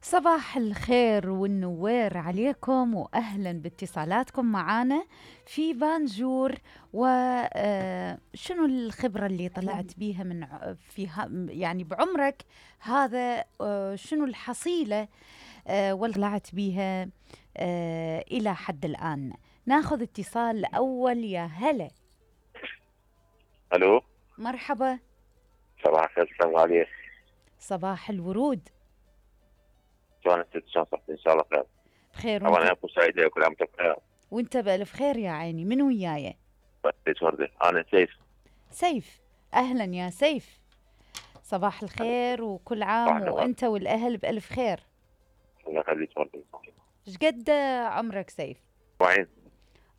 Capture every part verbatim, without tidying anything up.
صباح الخير والنوير عليكم، وأهلا باتصالاتكم معانا في بانجور. وشنو الخبرة اللي طلعت بيها من ع- في ها- يعني بعمرك هذا؟ آه، شنو الحصيلة آه، واللي طلعت بيها آه، إلى حد الآن؟ ناخذ اتصال الأول. يا هلا، الو، مرحبا. صباح الخير، السلام عليك. صباح الورود. شلونك؟ شلون صحتك؟ ان شاء الله خير. بخير طبعا وانت؟ ايامكم سعيده وكل عام وانتم بخير. وانت بألف خير يا عيني. من وياي؟ بس وردة، انا سيف. سيف. أهلا يا سيف، صباح الخير وكل عام صباح النور. وأنت والأهل بألف خير. الله يخليك وردة. إيش قد عمرك سيف؟ وعين.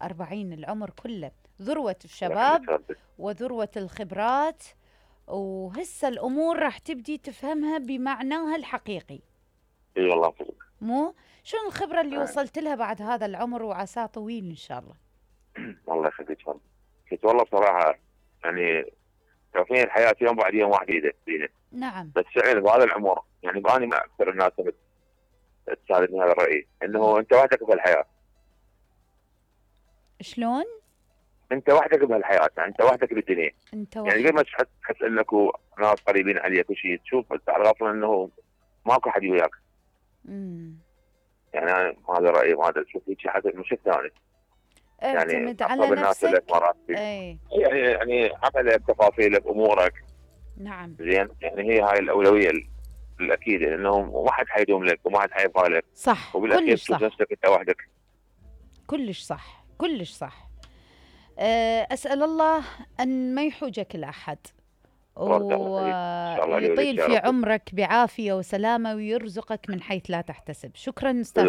أربعين، العمر كله ذروة الله يخليك الشباب وردة. وذروة الخبرات، وهسه الأمور راح تبدي تفهمها بمعناها الحقيقي. اي والله فوق. مو شنو الخبرة اللي آه. وصلت لها بعد هذا العمر وعساه طويل إن شاء الله؟ الله يخليك وردة. كنت والله بصراحه يعني شايفين الحياه يوم بعد يوم واحد يده فينا. نعم. بس فعلا بهذا العمر يعني باني مع اكثر الناس اللي تساعدني هذا الراي، انه انت وحدك بهالحياه. شلون؟ انت وحدك بهالحياه، يعني انت وحدك بالدنيا. أنت يعني وحدك. قبل ما تحس تحس انك ناس قريبين عليك وشيء، تشوف انت على غفله انه ماكو حد وياك. مم. يعني انا هذا رايي، ما ادري تشوف هيك حسب مش ثاني. يعني اعتمد على اقرب الناس نفسك. لك مرات فيك. اي يعني يعني عملك، تفاصيلك، امورك. نعم. زين، يعني هي هاي الاولويه ال- الاكيده، لانه ما حد حيدوم لك وما حد حيبقى لك. صح، وبالاخير كلش تشوف صح. نفسك انت وحدك. كلش صح، كلش صح. أه، أسأل الله أن ما يحوجك الأحد، ورد الله يخليك. ان شاء الله لي ولك ويطيل يا في رب. عمرك بعافية وسلامة، ويرزقك من حيث لا تحتسب. شكرا أستاذ.